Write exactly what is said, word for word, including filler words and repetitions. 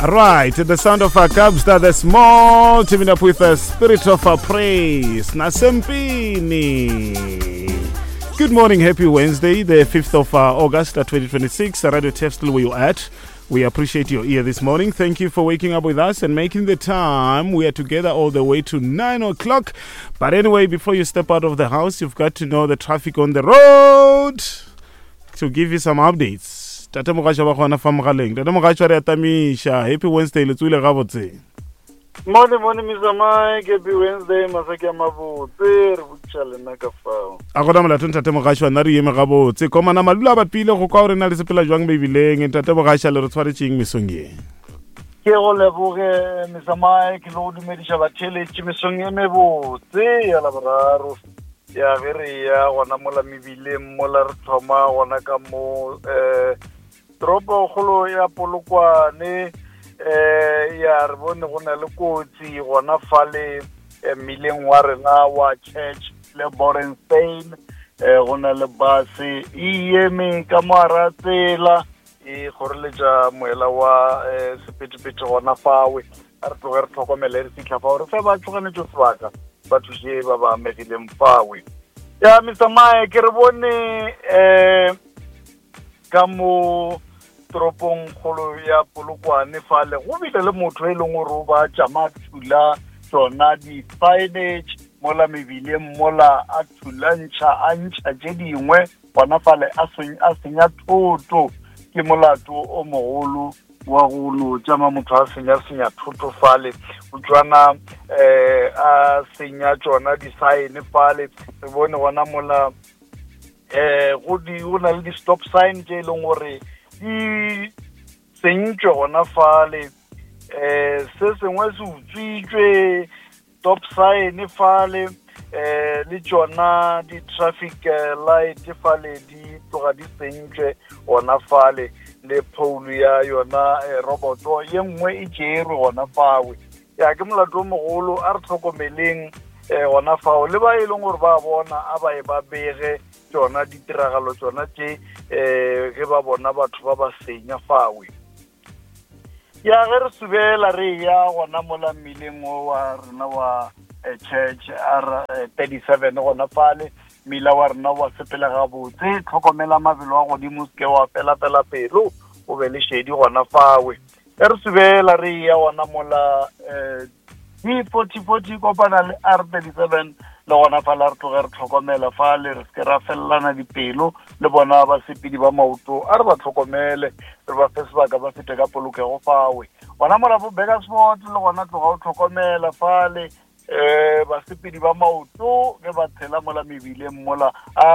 Right, the sound of our Kabza De Small, teaming up with the spirit of our praise, Nasempini. Good morning, happy Wednesday, the fifth of uh, August, uh, twenty twenty-six. Radio Turf, still where you at. We appreciate your ear this morning. Thank you for waking up with us and making the time. We are together all the way to nine o'clock. But anyway, before you step out of the house, you've got to know the traffic on the road to give you some updates. Tate Mogaša ba gona fa mogaleng. Tate Mogaša, re atamiša. Happy Wednesday, le tswile gabotse? Mone mone, Mister Mike, happy Wednesday, masaki a mabotse, re botša lena ka fao. A gona molato, ntate Mogaša, nna re eme gabotse. Komana malula a bapile go kwa gore na le sepela jwang mebileng. Ntate Mogaša, le re tshwaretšeng mesong ye? Ke go leboge, Mister Mike, le go dumediša batheletši mesong e mebotse ya Laboraro. Ya ge re ya gona mola mebileng, mola re thoma gona ka mo um toropokgolo ya Polokwane, um ya re bone go na le kotsi gona fale eh, mmileng wa rena wa Church le Borenstein. um go na le base e eme ka moara tsela, e kgoreletša moela wa um sephethephethe gona fawe. A re tloge re tlhokomele, re fitlha fao re fe ba tšhoganetšo sebaka, ba thuše ba ba amegileng fawe. Ya, Mister Mike, re bone um ka mo toropong kgolo ya Polokwane fale go bile le motho e leng gore o ba tšama thula tsona di-signage mola mebileng, mola a thulantšha, a ntšha tše dingwe gona fale, a senya thoto. Ke molato o mogolo wa go no tšama motho a senya-senya thoto fale, o tswana um a senya tšona di-sign fale. Re bone gona mola eh go di go na le di-stop sign tše e leng gore di sentšwe gona fale, eh se sengwe se utswitšwe, stop sign fale, eh le tšona di-traffic light fale di tloga di sentšwe gona fale, le pole ya yona roboto ye nngwe e tšerwe gona fawe. Ya, ke molato o mogolo, a re tlhokomeleng um gona fao, le ba e leng gore ba bona a ba e ba bege tšona ditiragalo tšona tše um ge ba bona batho ba ba senya fawe. Ya, ge re subela re ya gona mola mmileng o wa rena wa Church R thirty-seven gona fale, mmila wa rena wa sepela gabotse. Tlhokomela mabelo a godimo, se ke wa fela-fela pelo, o be le šedi gona fawe. Ge re subela re ya gona mola um D forty forty kopana le R thirty-seven, le gona fale re tloge re tlhokomela fale, re seke ra felelana dipelo le bona basepedi ba maoto. A re ba tlhokomele, re ba fe sebaka ba fete ka polokego fawe. Gona mola bo Burgersfort le gona tloga o tlhokomela fale, um basepedi ba maoto ge ba tshela mola mebileng mola a